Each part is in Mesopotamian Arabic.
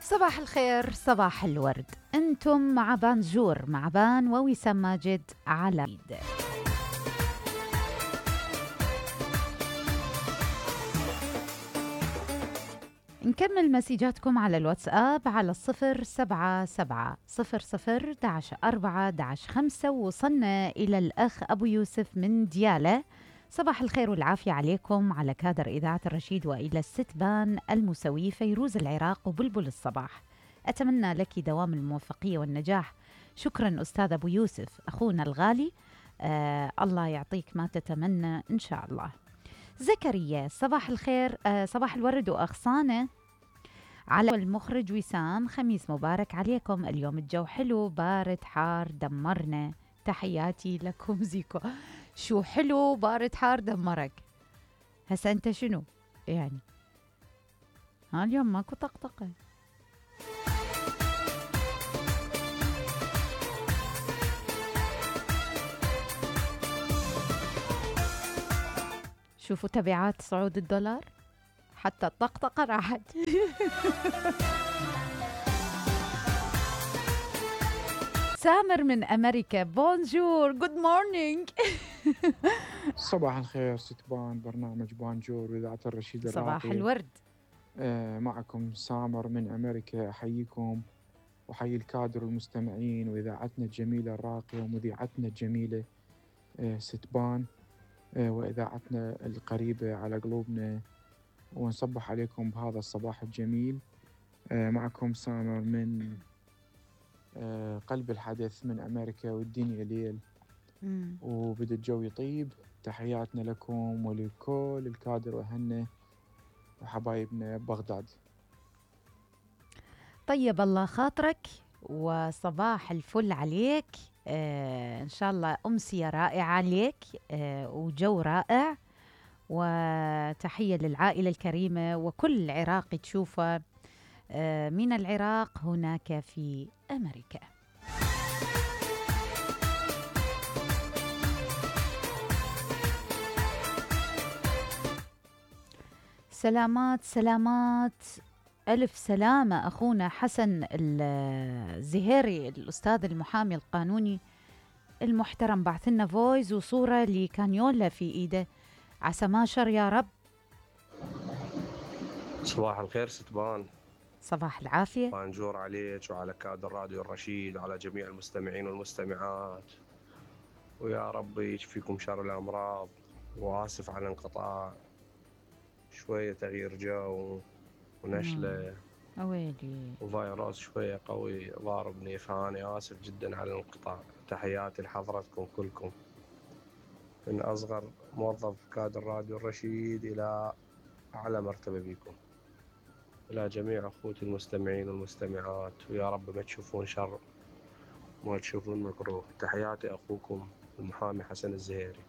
صباح الخير، صباح الورد. انتم مع بانجور، مع بان ووسام ماجد على ايد. نكمل مسيجاتكم على الواتساب على 077 00 11 4 وصلنا إلى الأخ أبو يوسف من ديالة. صباح الخير والعافية عليكم، على كادر إذاعة الرشيد، وإلى الست بان المسوي فيروز العراق وبلبل الصباح. أتمنى لك دوام الموفقية والنجاح. شكرا أستاذ أبو يوسف أخونا الغالي. الله يعطيك ما تتمنى إن شاء الله. زكريا صباح الخير، صباح الورد وأغصانه على المخرج وسام. خميس مبارك عليكم. اليوم الجو حلو، بارد حار دمرنا. تحياتي لكم زيكو. شو حلو بارد حار دمرك؟ هسا انت شنو يعني؟ اليوم ماكو طقطقة. شوفوا تبعات صعود الدولار، حتى الطقطقة راحت. سامر من أمريكا، بونجور، جود مورنينج. صباح الخير ستبان، برنامج بانجور وإذاعة الرشيد الراقي. صباح الورد. معكم سامر من أمريكا، أحييكم وحيي الكادر والمستمعين وإذاعتنا الجميلة الراقية ومذيعتنا الجميلة ستبان، وإذاعتنا القريبة على قلوبنا، ونصبح عليكم بهذا الصباح الجميل. معكم سامر من قلب الحدث من أمريكا، والدنيا ليل وبدأ الجو يطيب. تحياتنا لكم ولكل الكادر وأهلنا وحبايبنا ببغداد. طيب الله خاطرك وصباح الفل عليك. إن شاء الله أمسية رائعة عليك، وجو رائع. وتحية للعائلة الكريمة وكل عراقي تشوفه من العراق هناك في أمريكا. سلامات سلامات، ألف سلامة أخونا حسن الزهيري، الأستاذ المحامي القانوني المحترم، بعث لنا فويس وصورة لكانيولا في إيده، عسى ما شر يا رب. صباح الخير ستبان. صباح العافية. بانجور عليك وعلى كادر راديو الرشيد وعلى جميع المستمعين والمستمعات، ويا رب يشفيكم شر الأمراض. وآسف على الانقطاع، شوية تغيير جو ونشلة أويلي وفيروس شوية قوي ضاربني، فأنا آسف جدا على الانقطاع. تحياتي لحضرتكم كلكم، من أصغر موظف كادر راديو الرشيد إلى أعلى مرتبة بيكم، إلى جميع أخوتي المستمعين والمستمعات، ويا رب ما تشوفون شر ما تشوفون مكروه. تحياتي أخوكم المحامي حسن الزهيري.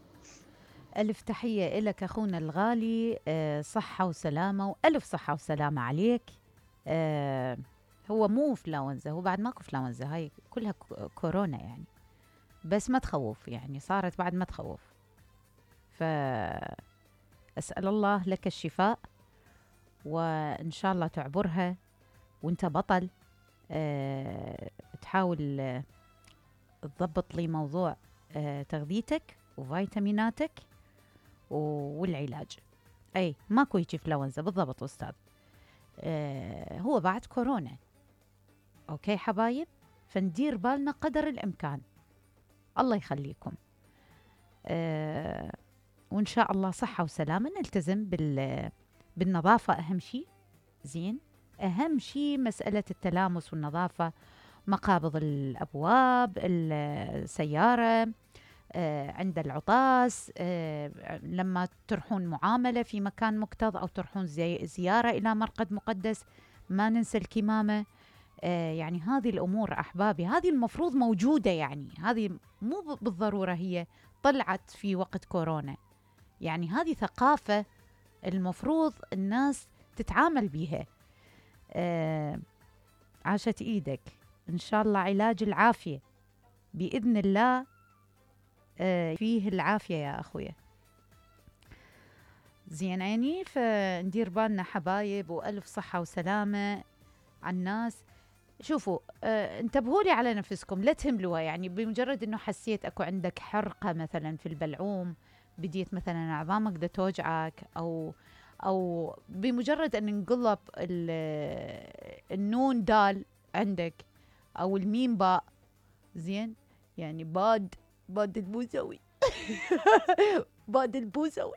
ألف تحية إلك أخونا الغالي. صحة وسلامة، وألف صحة وسلامة عليك. هو مو فلاونزا، هو بعد ماكو فلاونزا، هاي كلها كورونا يعني، بس ما تخوف يعني، صارت بعد ما تخوف. فأسأل الله لك الشفاء، وإن شاء الله تعبرها وانت بطل. تحاول تضبط لي موضوع تغذيتك وفيتاميناتك والعلاج. أي ماكو يجي فلونزا بالضبط أستاذ. هو بعد كورونا. أوكي حبايب، فندير بالنا قدر الإمكان. الله يخليكم. وإن شاء الله صحة وسلامة. نلتزم بالنظافة أهم شيء. زين، أهم شيء مسألة التلامس والنظافة، مقابض الأبواب، السيارة، عند العطاس، لما تروحون معاملة في مكان مكتظ أو تروحون زيارة إلى مرقد مقدس، ما ننسى الكمامة. يعني هذه الأمور أحبابي، هذه المفروض موجودة، يعني هذه مو بالضرورة هي طلعت في وقت كورونا، يعني هذه ثقافة المفروض الناس تتعامل بيها. عاشت إيدك إن شاء الله، علاج العافية بإذن الله. فيه العافية يا أخويا. زين عيني، فندير بالنا حبايب، وألف صحة وسلامة على الناس. شوفوا انتبهوا لي على نفسكم، لا تهملوها. يعني بمجرد انه حسيت اكو عندك حرقه مثلا في البلعوم، بديت مثلا عظامك دا توجعك، او بمجرد ان انقلب النون دال عندك، او الميم باء، زين، يعني باد البوسوي باد البوسوي